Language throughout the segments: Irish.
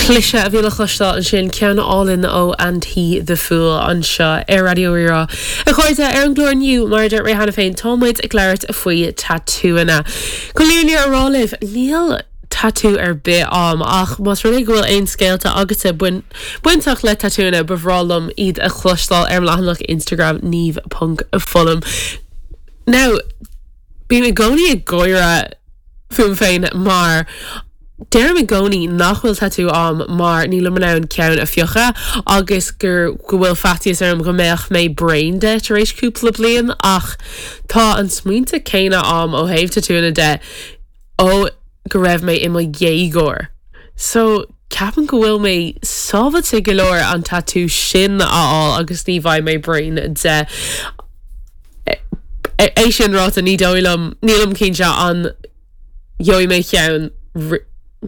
Cliseadh a bhí le cloisteáil ansin, ceann álainn ó And He The Fool anseo ar Raidió Rí-Rá. A chairde, ar an gclár inniu, mar a dúirt mé cheana féin, tá muid ag labhairt faoi tatúanna. Chun an fhírinne a rá libh, níl tatú ar bith a'm ach más rud é go bhfuil aon scéalta agatsa bainteach le tatúanna, ba bhreá liom iad a chloisteáil ar mo leathanach Instagram niamh ponc foghlaim. Now, Bím i gcónaí ag gáire fúm féin mar deirim i gcónaí nach bhfuil tatú a'm mar nílim in ann ceann a phiocadh agus gur go bhfuil faitíos orm go mbeadh mé bréan de tar éis cúpla bliain ach tá an smaointe céanna a'm ó thaobh tatúanna de ó go raibh mé i mo dhéagóir. So, ceapaim go bhfuil mé sábháilte go leor an tatú sin a fháil agus ní bheidh mé bréan de. É sin ráite, ní dóigh liom, nílim cinnte an gheobhaidh mé ceann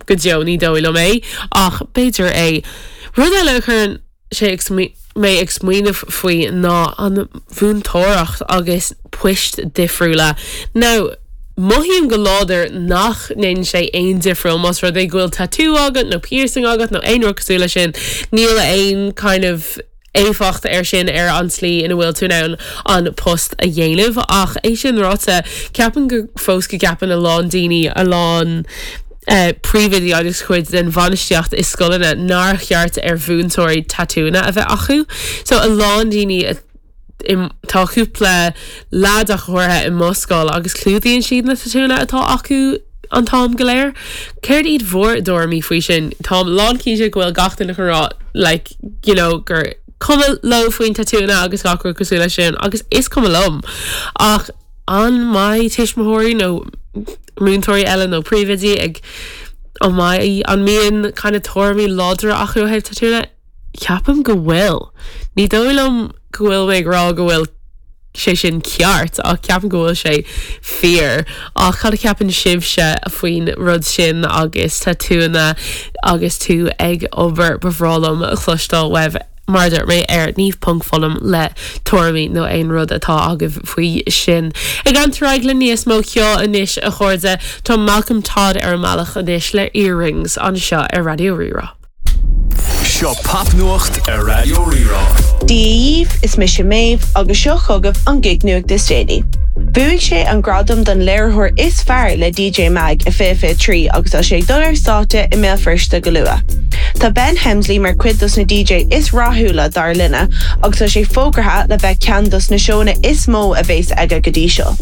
go deo, ní dóigh liom é, ach b'fhéidir é. Rud eile a chuireann sé mé ag smaoineamh faoi ná an mhúinteoireacht agus poist difriúla. Now, mothaím go láidir nach ndéanann sé aon difriúil más rud é go bhfuil tatú agat nó piercing agat nó aon rud cosúil leis sin, níl aon kind of éifeacht air sin ar an tslí ina bhfuil tú in ann an post a dhéanamh. Ach é sin ráite, ceapaim go fós go gceapann a lán daoine, a lán príomhoidí agus cuid den bhainistíocht i scoileanna nár cheart ar mhúinteoirí tatúanna a bheith acu. So a lán daoine tá cúpla leaid ach go háirithe i mo scoil agus clúdaíonn siad na tatúanna atá acu an t-am go léir. Céard iad bhur dtuairimí faoi sin? Táim lán cinnte go bhfuil gach duine chun rá like you know gur cuma leo faoin tatúanna agus gach rud cosúil leis sin agus is cuma liom ach an mbeidh tuismitheoirí nó múinteoirí eile nó príomhoidí ag an mbeidh an mbíonn kind of tuairimí láidre acu ó thaobh tatúanna? Ceapaim go bhfuil. Ní dóigh liom go bhfuil mé ag rá go bhfuil sé sin ceart ach ceapaim go bhfuil sé fíor. Ach cad a cheapann sibhse faoin rud sin agus tatúanna agus tú ag obair? Ba bhreá liom cloisteáil uaibh mar a dúirt mé ar niamh ponc foghlaim le tuairimí nó aon rud atá agaibh faoi sin. Ag leanúint ar aghaidh le níos mó ceoil anois a chairde, tá Malcolm Todd ar an mbealach anois le Earrings anseo ar Raidió Rí-Rá. Seo Popnuacht ar Raidió Rí-Rá. Dia dhaoibh, is mise Méabh agus seo chugaibh an gig-nuacht is déanaí. Bhuaigh sé an gradam don léiritheoir is fearr le DJ Mag i 2023 agus tá sé ag dul ar stáitse i mBéal Feirste go luath. Tá Ben Hemsley mar chuid dos na DJ is rathúla dár linne agus tá sé fógartha le bheith ceann dos na seónna is mó a bhéas aige go dtí seo.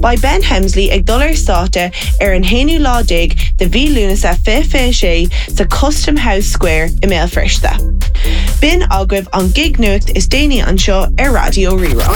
Beidh Ben Hemsley ag dul ar stáitse ar an haonú lá déag de mhí Lúnasa 2026 sa Custom House Square i mBéal Feirste. B'in agaibh an gig-nuacht is déanaí anseo ar Raidió Rí-Rá.